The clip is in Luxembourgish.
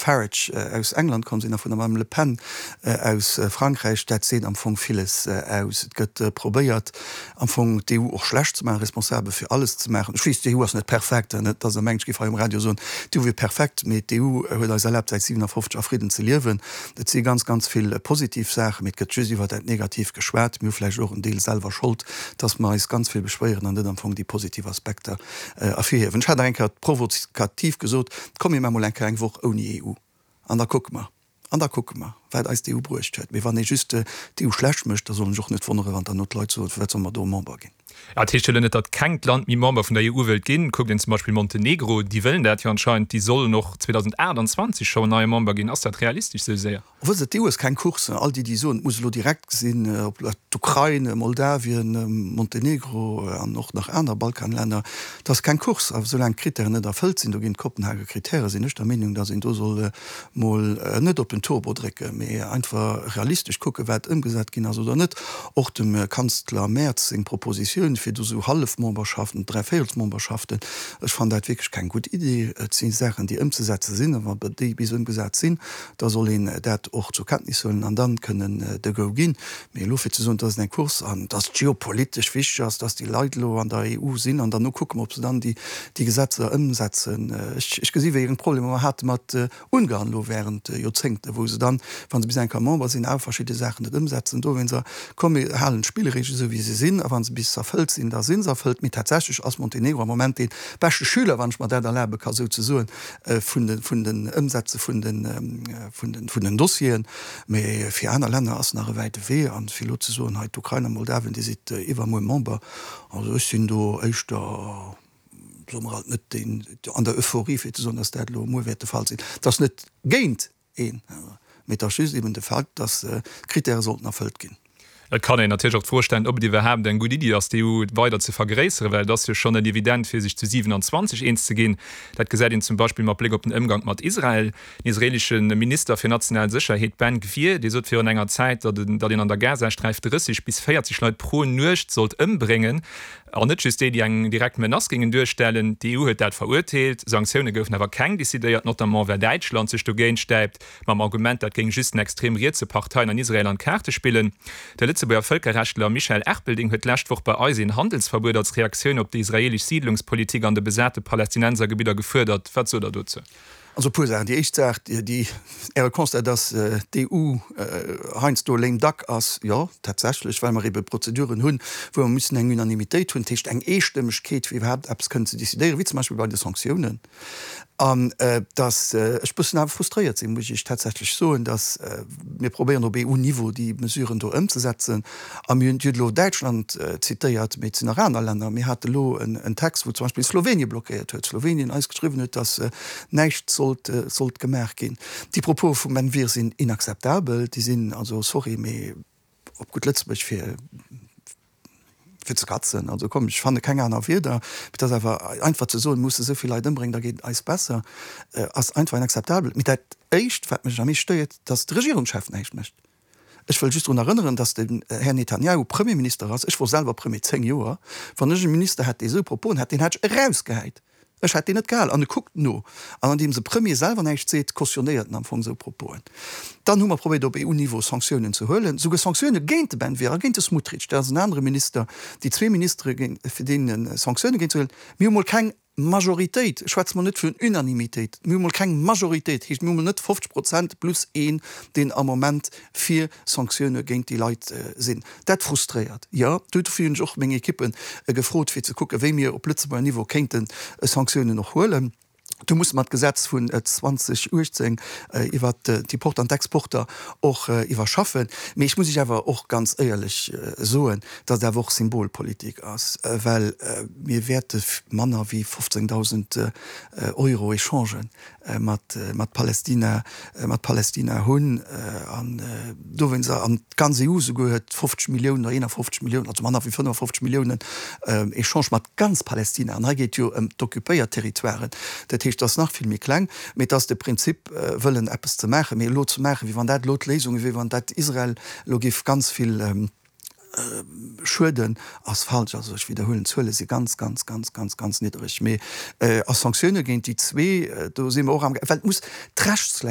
Farage aus England komm sinn a vun der Madame Le Pen aus Frankräich, dat seet am Fong villes aus. Et gëtt probéiert am Fong d'EU och schlecht ze maachen, responsabel fir alles ze maachen. Ech weess, d'EU ass net perfekt, net datt Der mengt, ech géif hei um Radio soen, d'EU wier perfekt, mee d'EU huet eis erlaabt säit 57 a Fridden ze liewen. Et si ganz, ganz vill positiv Saachen, mee et gëtt just iwwer dat Negatiivt geschwat. Mir hu vläicht och en Deel selwer Schold, datt mer eis ganz vill beschwéieren an net am Fong déi positiv Aspekter ervirhiewen. Ech hat nach eng Kéier provokativ gesot, Komm mir maache mol eng Kéier eng Woch ouni EU an da kucke mer, an da kucke mer, wat eis d'EU bruecht huet. Mee wann ee just d'EU schlecht mécht, da soll een sech och net wonneren, wann dann no d'Leit soen, firwat solle mer do Member ginn. Dat heescht jo elo net, datt kengt Land méi Member vun der EU wëllt ginn. Kuckt een zum Beispill Montenegro, déi wëllen dat jo anscheinend, déi sollen och 2028 schonn neie Member ginn. Ass dat realistesch esou séier? Wësst Der, d'EU ass keng Course. All déi, déi soen, et muss elo direkt sinn, ob d'Ukrain, Moldawien, Montenegro an och nach aner Balkanlänner, et ass keng Course. A soulaang d'Krittären net erfëllt sinn, do ginn d'Kopenhager Krittäre, sinn ech der Meenung, datt een do soll mol net op den Turbo drécken, mee einfach realistesch kucken, wat ëmgesat ginn ass oder net. Och dem Kanzler Merz seng Propositioun, fir do esou Hallefmemberschaften, Dräivéierelsmemberschaften, ech fannen dat wierklech keng gutt Idee. Et si Saachen, déi ëmzesetze sinn, a wa déi bis ëmgesat sinn, da soll een dat och zur Kenntnis huelen an dann kënnen de Go ginn. Mee elo fir ze soen, dat ass eng Course an dass et geopolitesch wichteg ass, dass déi Leit elo an der EU sinn an derno kucke mer, ob se dann déi Gesetzer ëmsetzen. Ech gesi wéi eng Problemer mer hate mat Ungarn elo während Joerzéngten, wou se dann, wa se bis eng Kéier Member sinn, awer verschidde Saachen net ëmsetzen. Dowéinster, komm mir halen d'Spillreegele esou wéi se sinn a wa se bis erfëllt sinn, da si se erfëllt. Mee tatsächlech ass Montenegro am Moment dee beschte Schüler, wann ech mer dat erlabe ka sou ze soen, vun de vun den Ëmsetze vun de vun den vun den Dossieren. Mee fir aner Länner ass nach e wäite Wee. An fir elo ze soen, hei d'Ukrain a Moldawien, Dir sidd iwwermuer Member, also ech sinn do éischter, soe mer alt, net deen an der Euphorie fir ze soen, datt dat elo muer wäert de Fall sinn. Et ass net géint een, mee et ass just eben de Fait, datt d'Kritäre sollten erfëllt ginn. Et kann een natierlech och d'Fro stellen, ob et iwwerhaapt eng gutt Iddi ass, d'EU weider ze vergréisseren, well et ass jo schonn net evident, fir sech zu 27 eens ze ginn. Dat gesäit een zum Beispill mat Bléck op den Ëmgank mat Israel. Den israeelesche Minister fir national Sécherheet Ben Gvir, dee sot virun enger Zäit, datt een an der Gazasträif 30 bis 40 Leit pro Nuecht sollt ëmbréngen, an net just déi, déi eng direkt Menace géingen duerstellen. D'EU huet dat verurteelt, Sanktioune goufen awer keng decidéiert, notamment well Däitschland sech dogéint stäipt. Mam Argument, dat géing just den extrem rietse Parteien an Israel an d'Kaarte spillen. De Lëtzebuerger Vëlkerrechtler Michel Erpelding huet d'lescht Woch bei eis een Handelsverbuet als Reaktioun op déi israeelesch Siidlungspolitik an de besate Palästinensergebidder gefuerdert. Wat sot Der dozou? Also e puer Saachen. Déi éischt Saach, déi Äre Constat, dass d'EU heiansdo lame duck ass, jo, tatsächlech, well mer ebe Prozeduren hunn, wou mer müssen eng Unanimitéit hunn, dat heescht eng Eestëmmegkeet, fir iwwerhaapt eppes kënnen ze décidéieren, wéi zum Beispill bei de Sanktiounen. An dass ech bëssen awer frustréiert sinn, muss ech Iech tatsächlech soen, dass mir probéieren op EU-Niveau déi Mesuren do ëmzesetzen. A mir hunn, Dir hutt elo Däitschland zitéiert, mee et sinn nach aner Länner. Mir hate elo en Text, wou zum Beispill Slowenien blockéiert huet, Slowenien eis geschriwwen huet, dass näischt sollt sollt gemaach ginn. Déi Propose vum Ben Gvir sinn inakzeptabel. Déi sinn also, sorry, mee op gutt Lëtzebuerg fir fir ze katzen. Also komm, ech fanne keng aner Wierder. Mee et ass awer einfach ze soen, mir musse esou vill Leit ëmbréngen, da geet et eis besser, ass einfach inakzeptabel. Mee dat Éischt, wat mech am meescht stéiert, dass de Regierungschef näischt mécht. Ech wëll just drun erënneren, dass den Här Netanjahu Premierminister ass. Ech wor selwer Premier 10 Joer. Wann ech e Minister hätt, dee esou Proposen hätt, deen hätt ech erausgehäit. Ech hätt deen net gehal. An e kuckt no. An andeems e Premier selwer näischt seet, cautionnéiert en am Fong esou Proposen. Dann hu mer probéiert op EU-Niveau Sanktiounen ze huelen, souguer Sanktioune géint de Ben Gvir a géint de Smotrich, dat ass en anere Minister, déi zwee Ministere géint, fir deene Sanktioune géint ze huelen. Mir hu mol keng Majoritéit, ech schwätze mol net vun Unanimitéit, mir hu mol keng Majoritéit, heescht mir hu mol net 50 Prozent plus een, deen am Moment fir Sanktioune géint déi Leit sinn. Dat frustréiert, jo. Dofir hunn ech och meng Ekippe gefrot, fir ze kucken, wéi mir op Lëtzebuerger Niveau kéinte Sanktiounen och huelen. Do musse mer d'Gesetz vun 2018 iwwert d'Importer an d'Exporter och iwwerschaffen. Mee ech muss Iech awer och ganz éierlech soen, datt et awer och Symbolpolitik ass, well mir wäerte manner wéi 15.000 Euro Echangen mat mat Palästina mat Palästina hunn an dowéinst an d'ganz EU souguer huet 50 Milliounen oder 51 Milliounen, also manner wéi 55 Milliounen Echange mat ganz Palästina. An hei geet jo ëm d'occupéiert Territoiren, dat heescht, dat ass nach vill méi kleng. Mee et ass de Prinzip wëllen eppes ze maachen, mee elo ze maachen, wéi wann dat elo d'Léisung wier, wéi wann dat Israel elo géif ganz vill Schueden ass falsch. Also ech widderhuelen, d'Zuele si ganz, ganz, ganz, ganz, ganz niddereg. Mee a Sanktioune géint déi zwee, do si mer och amgaang, well et muss d'Rechtslag.